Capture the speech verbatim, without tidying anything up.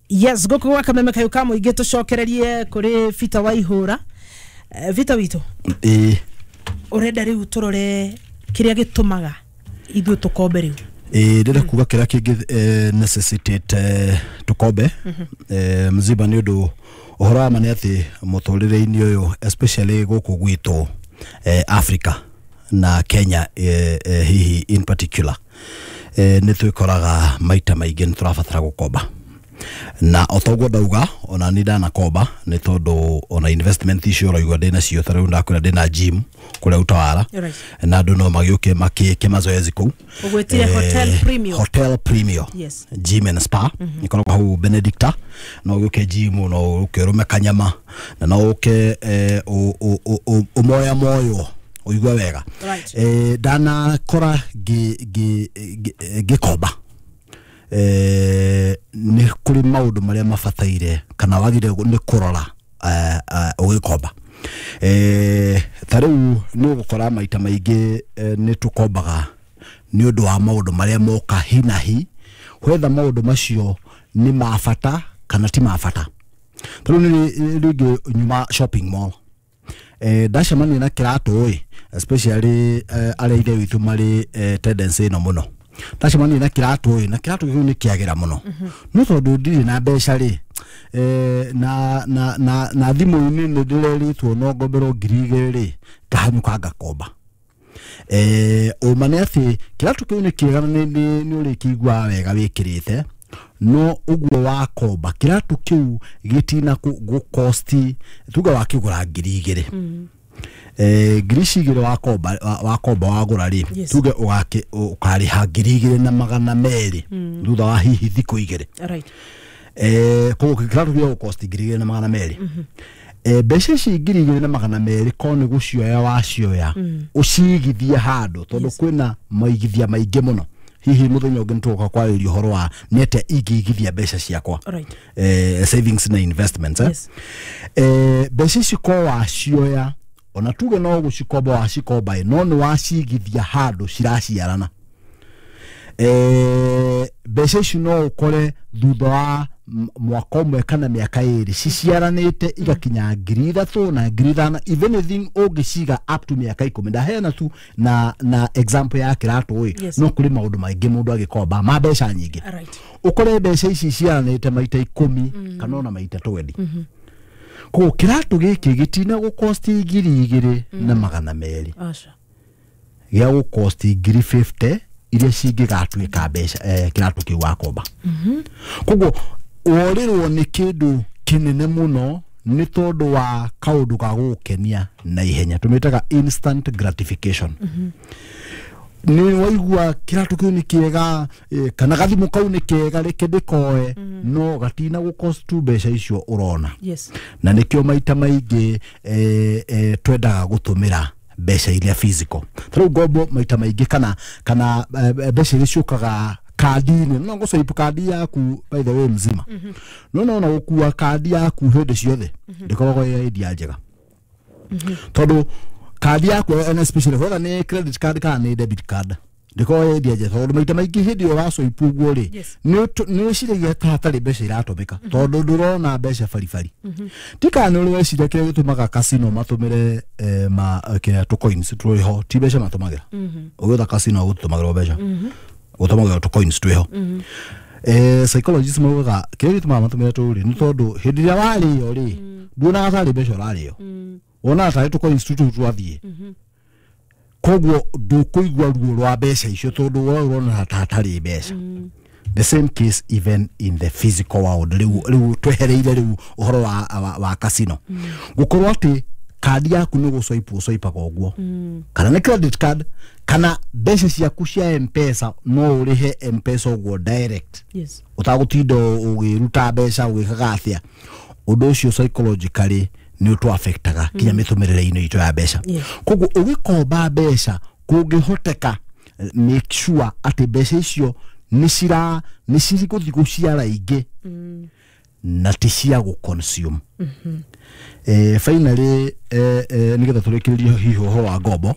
Yes, gũkũ gwa Kameme kayũ ka mũingĩ, tũcokererie kũrĩ Peter Waihũra. Eh, Peter witũ, Ĩĩ. Ũrenda rĩu tũrore kĩrĩa gĩtũmaga ithuĩ tũkombe rĩu? Ĩĩ, ndĩrenda kuga kĩrĩa kĩngĩ eh, necessitate eh, tũkombe eh, mzima, nĩ ũndũ ũhoro wa ma nĩ atĩ mũtũrĩre-inĩ ũyũ, especially gũkũ gwitũ eh, Africa na Kenya eh, eh, hihi in particular, eh, nĩ twĩkoraga maita maingĩ nĩ tũrabatara gũkomba. Na o toguo ndauga, ona ni ndanakomba, nĩ tondũ ona investment icio ũraigua ndĩ nacio, ta rĩu ndakwĩra ndĩna gym kũrĩa Utawala, Right. na andũ no magĩũke makĩke mazoezi kũu. Ũgwĩtire Eh, Hotel Premium. Hotel Premium Yes. Gym and Spa ĩkoragwo hau Benedicta. No ũke gym, no ũke ũrũme kanyama, na no ũke eh, ũ- ũ- ũ- ũ- ũmoya moyo ũigue wega. Right. eh, ndanakora ngĩ- ngĩ- ngĩ- ngĩkomba eh, nĩ kũrĩ maũndũ marĩa mabataire kana wagire nĩ kũrora eh, eh, ũgĩkomba. eh, ta rĩu nĩ ũgũkora maita maingĩ eh, nĩ tũkombaga nĩ ũndũ wa maũndũ marĩa moka hi na hi, whether maũndũ macio nĩ ma bata kana ti ma bata. Ta rĩu nĩ rĩngĩ nyuma shopping mall, eh, ndacemania na kĩratũ ĩ, especially eh, arĩa ithe witũ marĩ eh, tendency ĩno mũno, ndacemania na kĩratũ ĩ, na kĩratũ kĩu nĩ kĩagĩra mũno, no tondũ ndirĩ na mbeca rĩ, eh, na, na, na, na thimũ-inĩ nĩ ndĩrerĩtwo no ngomberwo ngiri igĩrĩ rĩ, ngahanyũka ngakomba. eh, ũma nĩ atĩ kĩratũ kĩu nĩ kĩega na nĩ nĩ- nĩ ũrĩkĩiguaga wega wĩkĩrĩte, no ũguo wakomba kĩratũ kĩu gĩtina gũkosti, tuga wakĩgũra ngiri igĩrĩ, eh, ngiri ici igĩrĩ wakomba wa- wakomba wagũra rĩ, Yes. tuge ũgakĩ- ũkarĩha ngiri igĩrĩ na magana merĩ thutha wa hihi thikũ igĩrĩ. Right. eh, koguo kĩratũ gĩa gũkosti ngiri igĩrĩ na magana merĩ, eh, mbeca ici ngiri igĩrĩ na magana merĩ ko nĩ gũcioya wacioya ũcigithie handũ, tondũ Yes. kwĩna maigithia maingĩ mũno. Hihi mũthenya ũngĩ nĩtũgũka kwarĩria ũhoro wa nĩ atĩa ingĩigithia mbeca ciakwa, Right. eh, savings na investments, eh? Yes. eh, mbeca ici ko wacioya, ona tuge no gũcikomba wacikomba ĩ, no nĩ wacigithia handũ ciraciarana, eh, mbeca ici no ũkore thutha wa m- mwaka ũmwe kana mĩaka ĩrĩ ciciaranĩte igakinya ngiri ithatũ na ngiri ithano. If anything, ũngĩciga up to mĩaka ikũmi. Ndaheana tu na, na example ya kĩratũ ĩ, Yes. no kũrĩ maũndũ maingĩ mũndũ agĩkomba ma mbeca nyingĩ, Right. ũkore mbeca ici ciaranĩte maita ikũmi kana ona maita twendi. Koguo kĩratũ gĩkĩ gĩtina gũkosti ngiri igĩrĩ na magana merĩ, Aca. gĩa gũkosti ngiri mĩrongo ĩno iria cingĩgatuĩka mbeca eh, kĩratũ kĩu wakomba. Koguo worĩrwo nĩ kĩndũ kĩnene mũno nĩ tondũ wa kaũndũ ga gũgũkenia na ihenya, tũmĩtaga instant gratification. Nĩ waigua kĩratũ kĩu nĩ kĩega, eh, kana gathimũ kau nĩ kega, reke ndĩkoe, no gatina gũkost mbeca icio ũrona. Yes. Na nĩkĩo maita maingĩ eh, eh, twendaga gũtũmĩra mbeca iria physical. Ta rĩu ngombo maita maingĩ kana kana eh, mbeca iria ciũkaga kandi-inĩ, no ngũswipe kandi yaku, by the way, mzima, no no na gũkua kandi yaku hĩndĩ ciothe ndĩkoragwo ĩ idea njega, tondũ kandi yaku, and especially whether nĩ credit card kana nĩ debit card, ndĩkoragwo ĩ idea njega, tondũ maita maingĩ hĩndĩ ĩyo waswipe ũguo rĩ, Yes. nĩ ũtũ- nĩ wĩciragia ta hatarĩ mbeca iratũmĩka, tondũ ndũrona mbeca baribari. Ti kana nĩ ũrĩ weciria kĩrĩa gĩtũmaga casino matũmĩre eh, ma kĩrĩa tũ coins twĩho? Ti mbeca matũmagĩra. Ũgĩũka casino gũtũmagĩrwo mbeca, gũtũmagĩrwo tũ coins twĩho. eh, psychologists maugaga kĩrĩa gĩtũmaga matũmĩre tũu rĩ, nĩ tondũ hĩndĩ ĩrĩa warĩo rĩ, nduonaga tarĩ mbeca ũrarĩo, wonaga tarĩ tũ coins tũtũ twathiĩ. Koguo ndũkũigua ruo rwa mbeca icio, tondũ we ũrona ta hatarĩ mbeca. The same case even in the physical world. Rĩu rĩu twehereire rĩu ũhoro wa, wa, wa casino, gũkorwo atĩ kandi yaku nĩ gũswipe ũswipaga ũguo, kana nĩ credit card, kana mbeca ciaku cia Mpesa, no ũrĩhe Mpesa ũguo direct, Yes. ũtagũtinda ũgĩruta mbeca ũgĩkaga atĩa. Ũndũ ũcio psychologically nĩ ũtũ affectaga kinya mĩtũmĩrĩre-inĩ itũ ya mbeca. Yes. Koguo ũgĩkomba mbeca, kũngĩhoteka, eh, make sure atĩ mbeca icio nĩ cira nĩ cigũthiĩ gũciara ingĩ na ti cia gũ consume. eh, finally eh, eh, nĩgetha tũrĩkĩrĩrie hihi ũhoro wa ngombo.